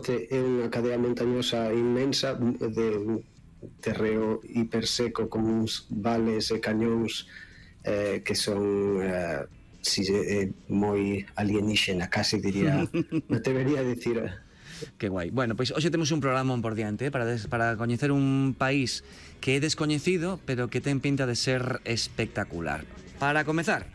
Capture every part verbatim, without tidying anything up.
realmente é unha cadea montañosa inmensa de un terreo hiperseco con uns vales e cañóns eh, que son eh, si, eh, moi alienígena, casi diría, me atrevería a decir. Que guai. Bueno, pois hoxe temos un programa por diante, eh, para, des, para coñecer un país que é descoñecido, pero que ten pinta de ser espectacular. Para comezar,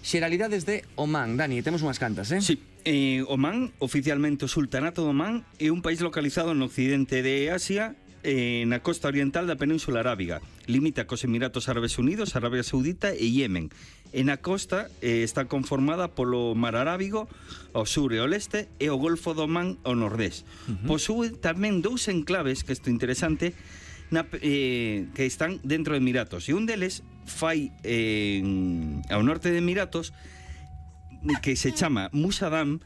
xeralidades de Omán. Dani, temos unhas cantas, eh? Sí. Eh, Omán, oficialmente o Sultanato de Omán, é un país localizado no occidente de Asia, eh, na costa oriental da Península Arábiga. Limita cos Emiratos Árabes Unidos, Arabia Saudita e Yemen. E na costa eh, está conformada polo Mar Arábigo ao sur e ao leste e o Golfo de Omán ao nordés. Uh-huh. Posúe tamén dous enclaves, que isto é interesante, na, eh, que están dentro de Emiratos. E un deles fai eh, ao norte de Emiratos, que se chama Musadam,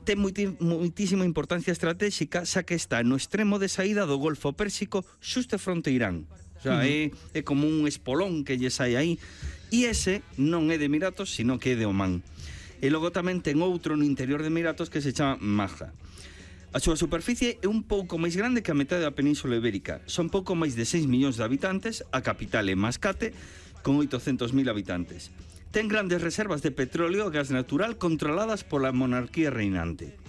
ten moitísima importancia estratégica, xa que está no extremo de saída do Golfo Pérsico, xusto fronte a Irán. O sea, uh -huh. é, é como un espolón que lle sai aí. E ese non é de Emiratos, sino que é de Omán. E logo tamén ten outro no interior de Emiratos que se chama Maja. A súa superficie é un pouco máis grande que a metade da Península Ibérica. Son pouco máis de seis millóns de habitantes, a capital é Mascate, con oitocentos mil habitantes. Ten grandes reservas de petróleo e gas natural controladas pola monarquía reinante.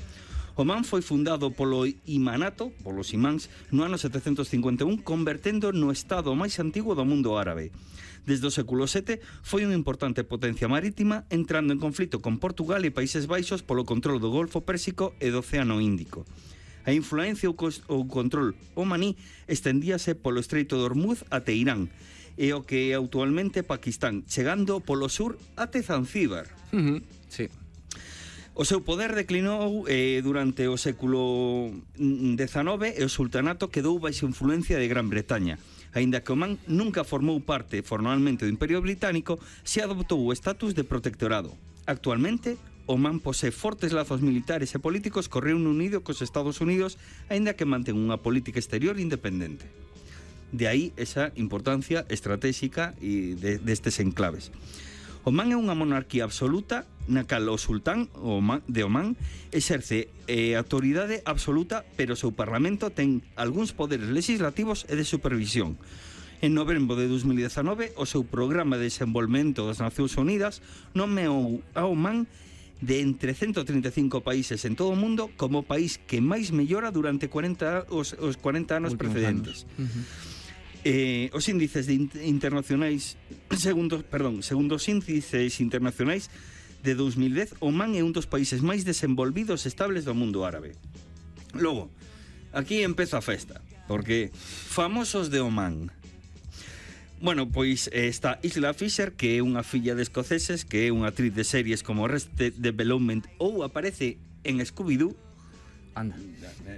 Omán foi fundado polo imanato, polos imáns, no ano setecentos cincuenta e un, convertendo no estado máis antigo do mundo árabe. Desde o século sete foi unha importante potencia marítima, entrando en conflito con Portugal e Países Baixos polo control do Golfo Pérsico e do Océano Índico. A influencia ou control omaní estendíase polo Estreito de Hormuz até Irán, e o que é actualmente Pakistán, chegando polo sur até Zanzíbar. Uh -huh. Sí. O seu poder declinou eh, durante o século dezenove e o sultanato quedou baixo influencia de Gran Bretaña. Aínda que Omán nunca formou parte formalmente do Imperio Británico, se adoptou o estatus de protectorado. Actualmente, Omán posee fortes lazos militares e políticos co Reino Unido e cos Estados Unidos, aínda que mantén unha política exterior independente. De aí esa importancia estratégica e de, destes enclaves. Omán é unha monarquía absoluta na cal o sultán de Omán exerce eh, autoridade absoluta, pero o seu parlamento ten algúns poderes legislativos e de supervisión. En novembro de dos mil dezenove, o seu programa de desenvolvemento das Nacións Unidas nomeou a Omán de entre ciento trinta e cinco países en todo o mundo como o país que máis mellora durante cuarenta, os, os cuarenta anos Últimos precedentes. Anos. Uh-huh. Eh, os índices de internacionais segundo, perdón, segundo os índices internacionais de dos mil dez, Omán é un dos países máis desenvolvidos e estables do mundo árabe. Logo, aquí empeza a festa, porque famosos de Omán. Bueno, pois está Isla Fisher, que é unha filla de escoceses, que é unha actriz de series como Arrested Development ou aparece en Scooby-Doo. Anda.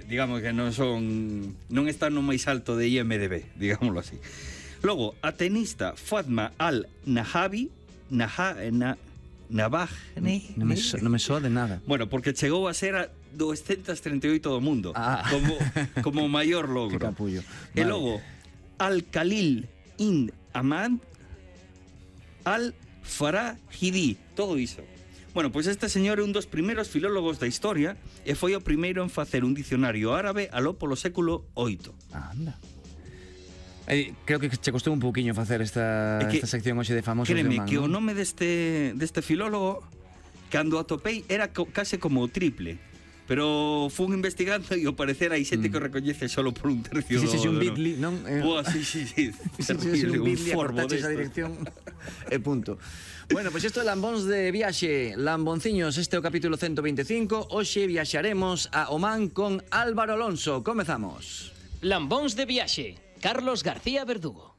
Digamos que non son non están no máis alto de I M D B, digámoslo así. Logo, a tenista Fatma Al-Nahabi, Naha, na, Nabajne, non me, so, non me soa de nada. Bueno, porque chegou a ser a doscientos treinta e oito do mundo, ah. como como maior logro. Que capullo. E vale. logo, Al-Khalil in Ahmad Al-Farahidi, todo iso. Bueno, pois este señor é un dos primeiros filólogos da historia e foi o primeiro en facer un dicionario árabe aló polo século oito. Anda. Eh, creo que che costou un pouquiño facer esta, que, esta sección hoxe de famosos de Omán. Créeme que ¿no? O nome deste, deste filólogo, cando atopei, era co, case como o triple. Pero fun investigando e ao parecer hai xente mm. que o recoñece solo por un tercio. Si, si, si, un bitly, non? Eh, Boa, si, si, si. Si, si, si, un bitly, acortaches a dirección e punto. Bueno, pois pues isto é Lambóns de Viaxe. Lambonciños, este é o capítulo ciento veinticinco. Hoxe viaxaremos a Omán con Álvaro Alonso. Comezamos. Lambóns de Viaxe. Carlos García Verdugo.